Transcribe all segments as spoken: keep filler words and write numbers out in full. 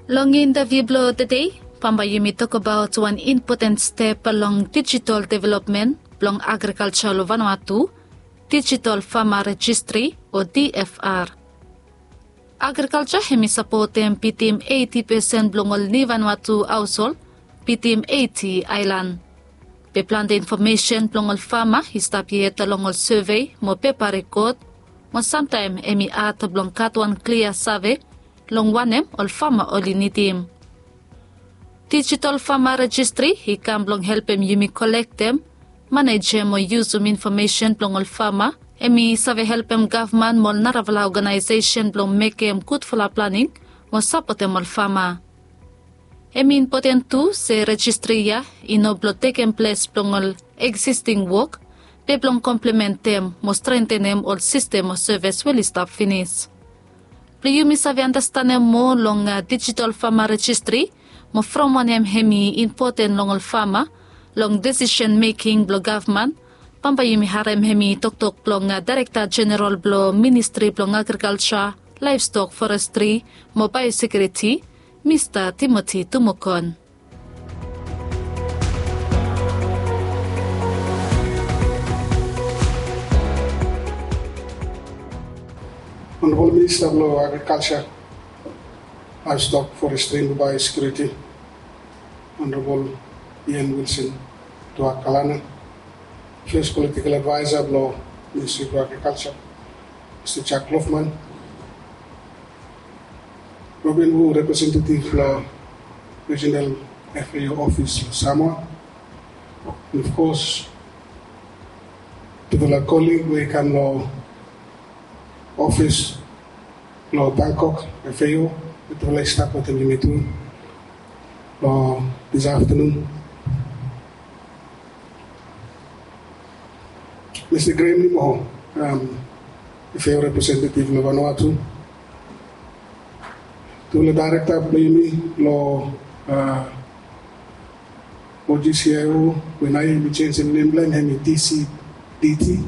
Long intaviu blong tede, bambae yumi tokbaot wan impoten step long digital development blong agrikalja long Vanuatu, Digital Farmer Registry o D F R. Agrikalja hemi sapotem bitim eiti pesen blong ol niu Vanuatu haoshol bitim eiti aelan. Be plante infomesen blong ol fama i stap yet long ol sevei mo pepa rekod, mo samtaem hemi had blong gat wan klia save long wanem ol fama oli nidim. Digital Farmer Registry i kam blong helpem yumi kolektem, manejem mo yusum infomesen blong ol fama. Hemi save helpem gavman mo ol narafala oganaesesen blong mekem gudfala planing mo sapotem ol fama. Hemi impoten tu se rejistri ya i no blong tekem ples blong ol eksisting wok, be blong komplementem mo strentenem ol sistem o sevis we oli stap finis. Blong yumi save andastanem moa long digital fama rejistri mo from wanem hemi impoten long ol fama long desisen meking blong gavman, bambae yumi harem hemi toktok blong Daerekta Jeneral blong Ministri blong Agrikalja, Laevstok, Forestri mo Baeosekiuriti, Mista Timoti Tumokon. Honorable Minister blong Agriculture, Livestock, Forestry and Biosecurity, Honorable Ian Wilson Tuah Kalana, First Political Advisor blong Ministry blong Agriculture, Mr Jack Loughman, Robin Wu, representative blong Regional F A O Office blong Samoa, and of course tufala colleague we i kam long ofis long Bangkok F A O, tufala i stap wetem yumi tu long this afternoon. Mista Graham Nimo, F A O representative long Vanuatu, tufala daerekta blong yumi long O G C I O, we naoia yumi jenisim nem blong hem, hemi D C D T,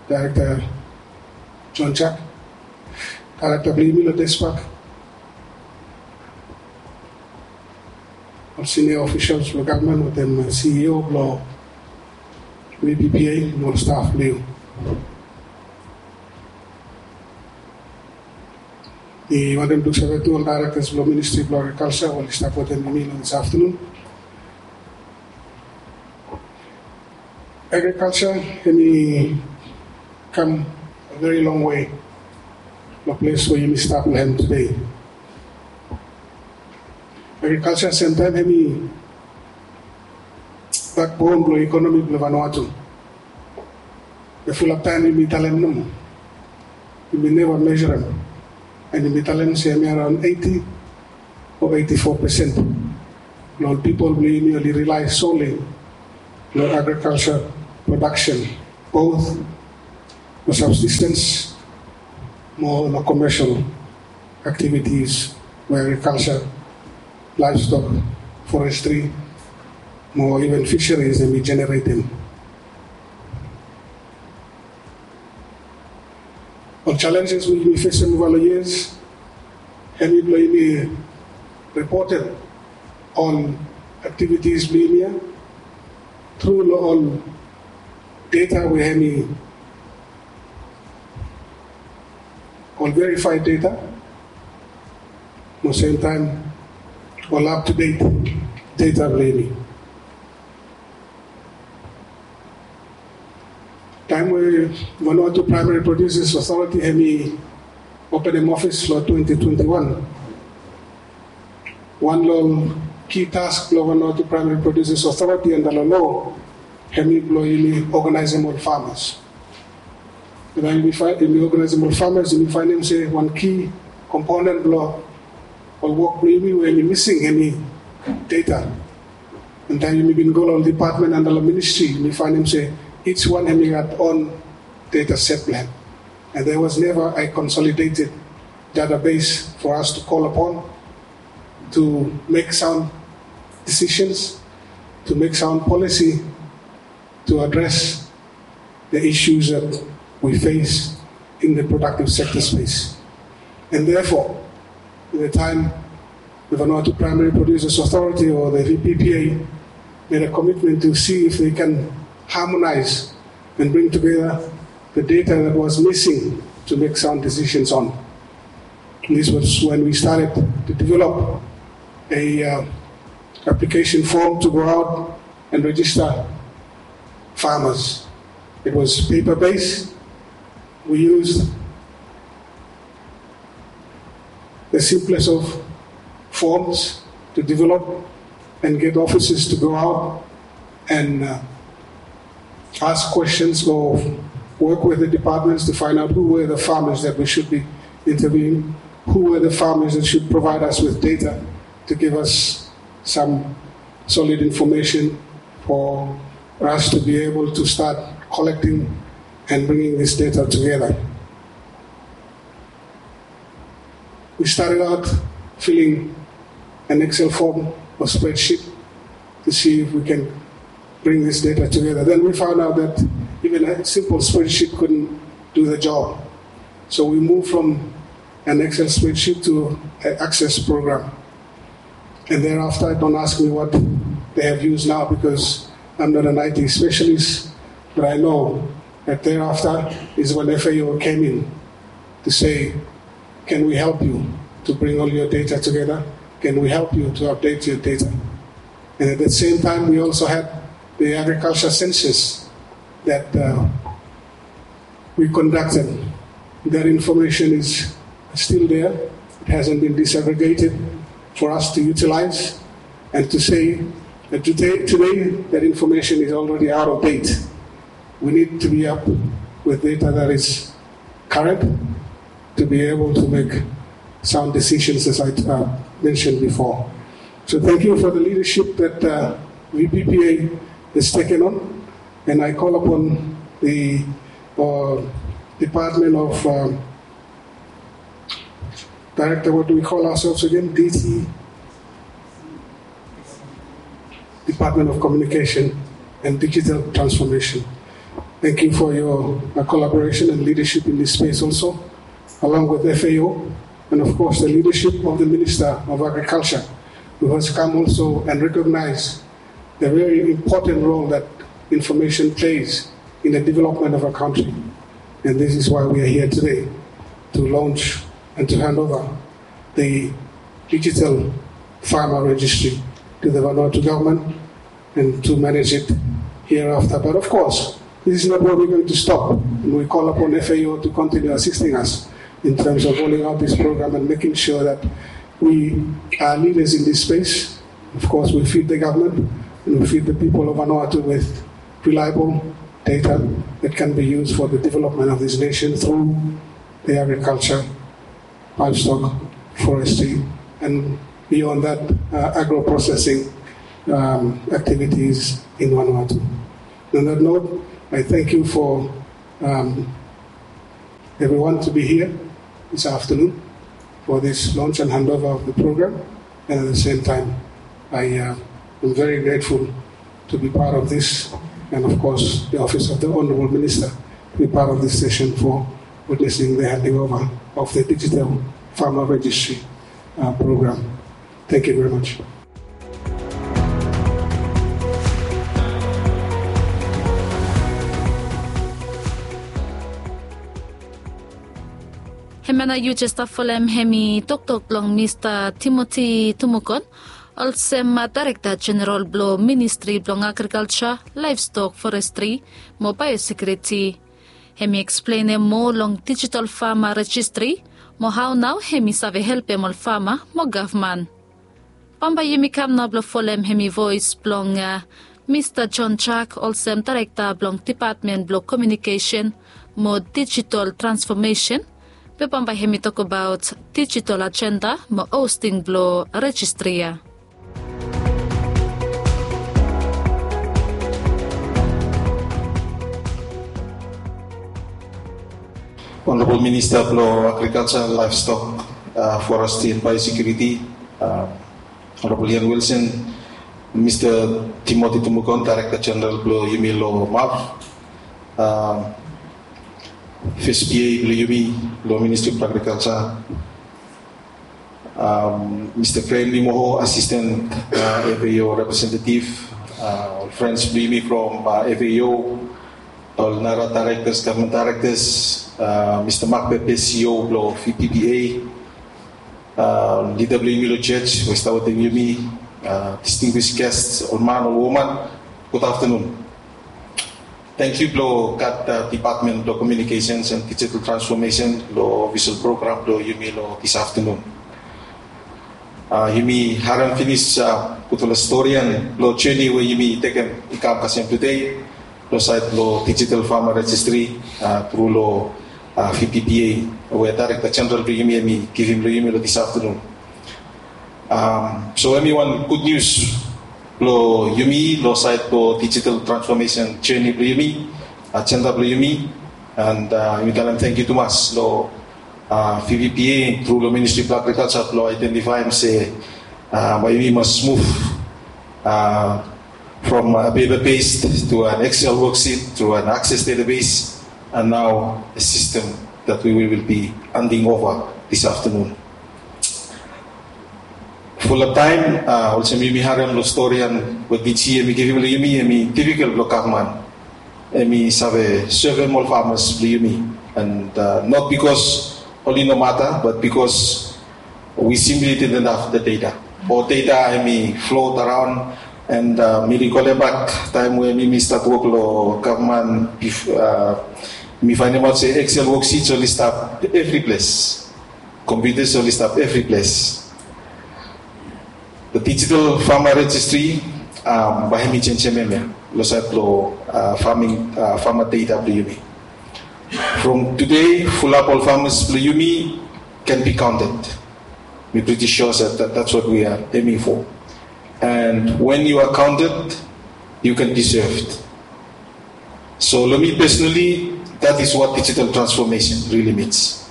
Daerekta John Jack, daerekta blong yumi long DESPAC, ol sinia ofisals blong gavman wetem C E O blong V P P A mo ol staf blong yumi. Mi wantem luksave tu ol daerektas blong Ministri blong Agrikalja we oli stap wetem yumi long this afternoon. Agrikalja hemi kam a very long way long ples we yumi stap long hem tede. Agrikalja semtaem hemi bakbon blong ekonomi blong Vanuatu. Be fulap taem yumi talem nomo, yumi neva mesurem, and yumi talem se hemi araon eiti o eiti fo pesen blong ol pipol blong yumi oli rely solely long agriculture production, both long subsistence mo long commercial activities we agriculture, livestock, forestry mo even fisheries hemi generatem. Ol challenges we yumi fesem ova long years, hemi blong yumi ripotem ol activities blong yumi ya tru long ol data we hemi ol verified data, mo semtaem ol up to date data blong yumi. Taem we Vanuatu Primary Producers Authority hemi openem ofis long twenty twenty-one, wan long ol ki task blong Vanuatu Primary Producers Authority anda long loa hemi blong yumi oganaesem ol famas. Taem yumi oganaesem ol famas, yumi faenem se wan ki komponen blong ol wok blong yumi we hemi mising hemi data. And taem yumi bin go long ol dipatmen anda long ministri, yumi faenem se each wan hemi gat on data set blong hem. And there was never a consolidated database for us to call upon to make sound decisions, to make sound policy, to address the issues that we face in the productive sector space. And therefore, in the time the Vanuatu Primary Producers Authority, or the V P P A, made a commitment to see if they can harmonize and bring together the data that was missing to make sound decisions on. This was when we started to develop a uh, application form to go out and register farmers. It was paper-based. We used the simplest of forms to develop and get officers to go out and uh, ask questions or work with the departments to find out who were the farmers that we should be interviewing, who were the farmers that should provide us with data to give us some solid information for us to be able to start collecting and bringing this data together. We started out filling an Excel form or spreadsheet to see if we can bring this data together. Then we found out that even a simple spreadsheet couldn't do the job. So we moved from an Excel spreadsheet to an Access program. And thereafter, don't ask me what they have used now because I'm not an I T specialist, but I know that thereafter is when F A O came in to say, can we help you to bring all your data together? Can we help you to update your data? And at the same time, we also had the agriculture census that uh, we conducted. That information is still there. It hasn't been disaggregated for us to utilize and to say that today, today that information is already out of date. We need to be up with data that is current to be able to make sound decisions, as I uh, mentioned before. So thank you for the leadership that uh, V P P A has taken on, and I call upon the uh, Department of um, Director, what do we call ourselves again? D T, Department of Communication and Digital Transformation. Thank you for your uh, collaboration and leadership in this space also, along with F A O, and of course the leadership of the Minister of Agriculture, who has come also and recognized the very important role that information plays in the development of a country. And this is why we are here today to launch and to hand over the digital farmer registry to the Vanuatu government and to manage it hereafter. But of course, this is not where we're going to stop. And we call upon F A O to continue assisting us in terms of rolling out this program and making sure that we are leaders in this space. Of course, we feed the government and we feed the people of Vanuatu with reliable data that can be used for the development of this nation through the agriculture, livestock, forestry, and beyond that, uh, agro-processing um, activities in Vanuatu. On that note, I thank you for um, everyone to be here this afternoon for this launch and handover of the program. And at the same time, I uh, am very grateful to be part of this, and of course, the Office of the Honorable Minister to be part of this session for witnessing the handing over of the Digital Farmer Registry uh, program. Thank you very much. Hemia nao yu jes stap folem hemi toktok blong Mista Timoti Tumukon, olsem Daerekta Jeneral blong Ministri blong Agrikalja, Laevstok, Forestri mo Baeosekiuriti. Hemi eksplenem moa long dijital fama rejistri mo hao nao hemi save helpem ol fama mo gavman. Bambae yumi kam nao blong folem hemi voes blong Mista John Jack olsem Daerekta blong Depatmen blong Komiunikesen mo Dijital Transfomesen, be bambae hemi tokbaot dijital ajenda mo hosting blong rejistri ya. Honorable Minister blong Agrikalja, Laevstok, Forestri and Baeosekiuriti, Honorable Ian Wilson, Mista Timoti Tumukon, Daerekta Jeneral blong yumi long MARF, fes PA blong yumi long Ministri blong Agrikalja, um, Mr. Graham Limoho, Assistant uh, F A O Representative, uh, ol friends blong yumi from uh, F A O, ol nara directors, government directors, uh, Mr. Mark Pepe, C E O blong V P P A, uh, lida blong yumi long church we i stap wetem yumi, uh, distinguished guests, ol man, ol woman, gud aftanun. Tangkiu blong gat uh, Department blong Communications and Digital Transformation long official program blong yumi long this afternoon. Uh, yumi harem finis uh, gudfala storian blong journey we yumi tekem i kam kasem today long sait blong Digital Farmer Registry uh, tru long uh, V P P A we Director General blong yumi hemi givim long yumi long this afternoon. Um, so hemi wan gud nius blong yumi long sait blong digital transformation journey blong yumi, agenda blong yumi, and uh, yumi talem tangkiu tumas long uh, V P P A tru long Ministry blong Agriculture blong identifaem se uh, bae yumi mas move uh, from a paper based to an Excel worksheet to an Access database, and now a system that we will be handing over this afternoon. Fulap taem uh, olsem yumi harem long storian we D G hemi givim long yumi, hemi difikel blong gavman hemi save sevem ol farmers blong yumi, and uh, not because oli no mata, but because we simply didn't have the data. Ol data hemi float around, and uh, mi rikolem bak taem we mi mi stat wok long gavman, mi faenemaot se Excel worksheets oli stap evri ples, computers oli stap evri ples. The Digital Farmer Registry um, bae hemi jenjem hemia long sait blong uh, farming uh, farmer data blong yumi. From today, fulap ol farmers blong yumi can be counted. Mi pretty sure that, that that's what we are aiming for. And when you are counted, you can be served. So long mi personally, that is what digital transformation really means.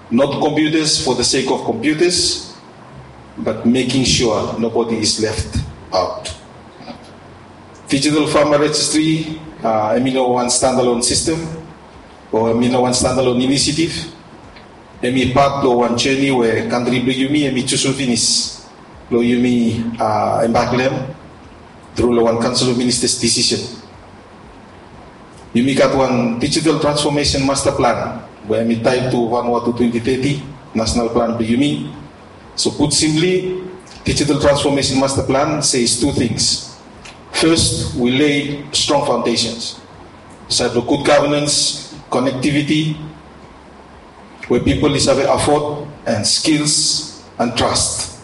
Not computers for the sake of computers, but making sure nobody is left out. Digital Farmer Registry, uh, hemi no wan standalone system, o hemi no wan standalone initiative. Hemi pat blong wan journey we kantri blong yumi hemi jusum finis blong yumi uh, embark long hem tru long wan Council of Ministers decision. Yumi gat wan Digital Transformation Master Plan we hemi tied to Vanuatu twenty thirty national plan blong yumi. So put simply, Digital Transformation Master Plan says two things. First, we lay strong foundations. Sait blong good governance, connectivity, we pipol i save afford, and skills and trust.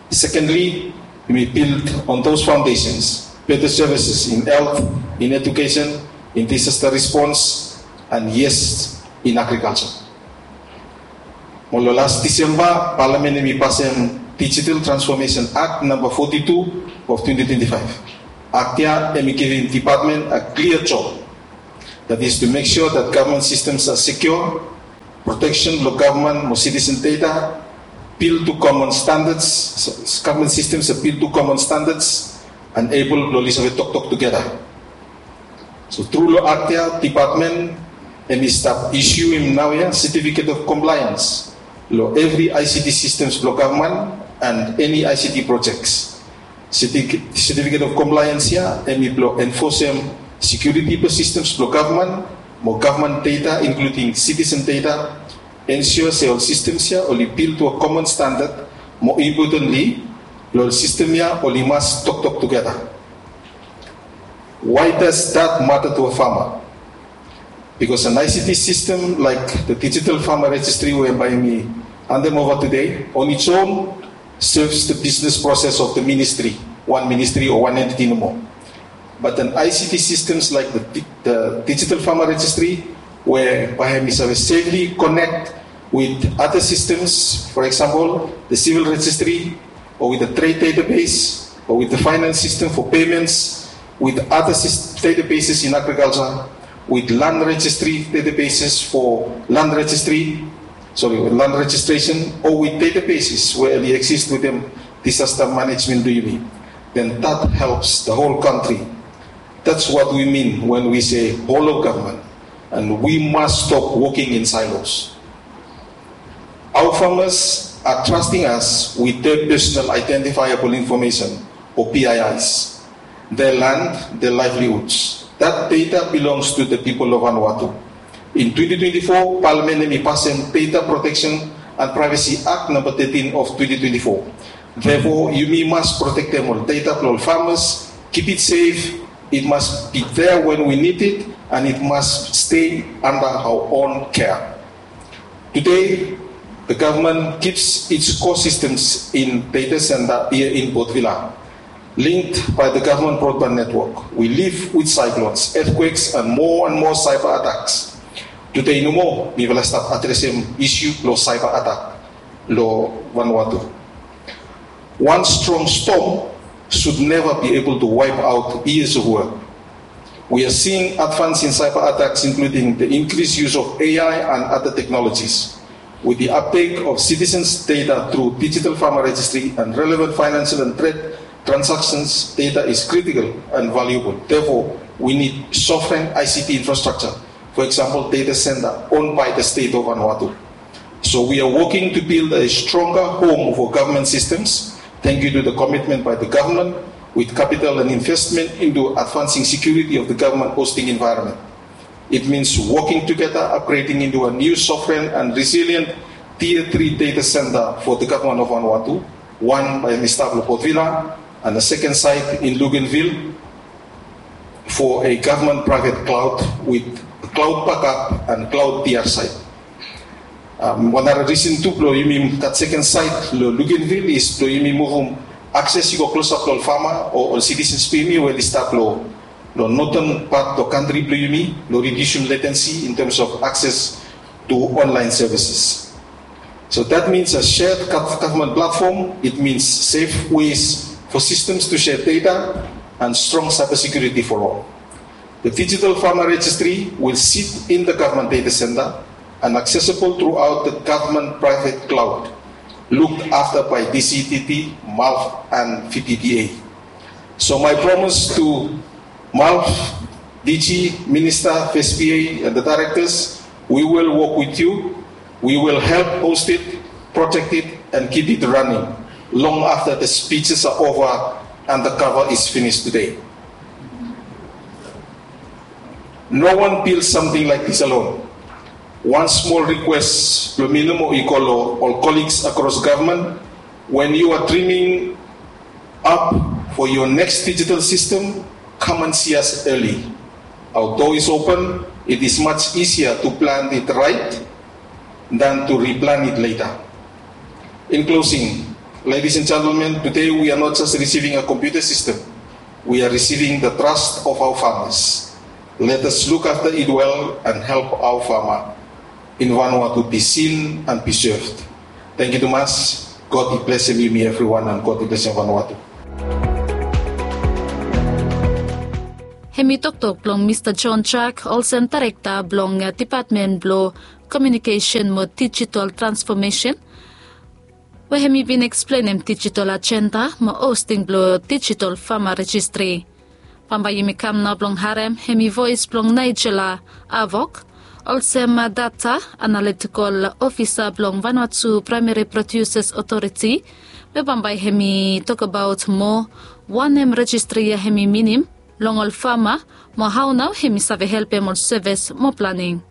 Secondly, we build on those foundations better services in health, in education, in disaster response, and yes, in agriculture. Mo long las Disemba, Palamen hemi pasem Digital Transformation Act number forty-two of twenty twenty-five. Act ya hemi givim department a clear job, that is to make sure that government systems are secure, protection blong gavman mo citizen data, build to common standards, government systems are built to common standards, and able blong oli save toktok tugeta. So tru long act ya, department hemi stap issuem naoia certificate of compliance long evri I C T systems blong gavman and eni I C T projects. Certificate of compliance ya hemi blong enforcem security blong systems blong gavman mo gavman data, including citizen data, ensure se ol systems ya oli build to a common standard, mo importantly, long ol system ya oli mas toktok tugeta. Why does that matter to a farmer? Because an I C T system like the Digital Farmer Registry we bae mi handem over today on its own serves the business process of the ministry, one ministry or one entity nomo. But an I C T systems like the, the Digital Farmer Registry, where bae hemi save safely connect with other systems, for example, the civil registry, or with the trade database, or with the finance system for payments, with other databases in agriculture, with land registry databases for land registry, sorry, with land registration, or with databases where they exist within disaster management blong yumi, then that helps the whole country. That's what we mean when we say whole of government, and we must stop working in silos. Our farmers are trusting us with their personal identifiable information, or P I Is, their land, their livelihoods. That data belongs to the people of Vanuatu. In twenty twenty-four, Parliament hemi pasem Data Protection and Privacy Act number thirteen of twenty twenty-four. Therefore, yumi mas protektem ol data blong ol farmers, keep it safe, it must be there when we need it, and it must stay under our own care. Today, the government keeps its core systems in data center here in Port Vila, linked by the government broadband network. We live with cyclones, earthquakes, and more and more cyber attacks. Today nomo, mifala stap adresem issue long cyber attack long Vanuatu. One strong storm should never be able to wipe out years of work. We are seeing advance in cyber attacks, including the increased use of A I and other technologies. With the uptake of citizens' data through digital farmer registry and relevant financial and trade transactions, data is critical and valuable. Therefore, we need sovereign I C T infrastructure, for example, data center owned by the state of Vanuatu. So we are working to build a stronger home for government systems, thank you to the commitment by the government with capital and investment into advancing security of the government hosting environment. It means working together, upgrading into a new sovereign and resilient tier three data center for the government of Vanuatu, one by Mister Port Vila and a second site in Luganville for a government private cloud with cloud backup and cloud P R site. Um, wan nara reason tu blong yumi gat second site long Luganville is blong yumi muvum access i go klosap long ol farmer o ol citizens blong yumi we oli stap long northern part long country blong yumi, long reducem latency in terms of access to online services. So that means a shared government platform, it means safe ways for systems to share data and strong cybersecurity for all. The digital farmer registry will sit in the government data center and accessible throughout the government private cloud, looked after by D C T T, MALF, and V T T A. So my promise to MALF, D G, Minister, F S P A, and the directors, we will work with you. We will help host it, protect it, and keep it running long after the speeches are over and the cover is finished today. No one built something like this alone. One small request blong mi nomo i go long ol colleagues across government, when you are dreaming up for your next digital system, come and see us early. Our door is open. It is much easier to plan it right than to replan it later. In closing, ladies and gentlemen, today we are not just receiving a computer system, we are receiving the trust of our farmers. Let us look after it well and help our farmer in Vanuatu be seen and be served. Thank you too much. God bless you, me everyone, and God bless you, Vanuatu. Hemi toktok blong Mista John Jack, olsem daerekta blong depatmen blong komiunikesen mo dijitol transfomesen, we hemi bin eksplenem dijitol ajenda mo hosting blong dijitol fama rejistri. Bambae yumi kam nao blong harem hemi voes blong Nigella Avok, olsem data analitikol ofisa blong Vanuatu Praemeri Prodiuses Otoriti, we bambae hemi tokbaot moa wanem rejistri ya hemi minim long ol fama, mo hao nao hemi save helpem ol sevis mo planing.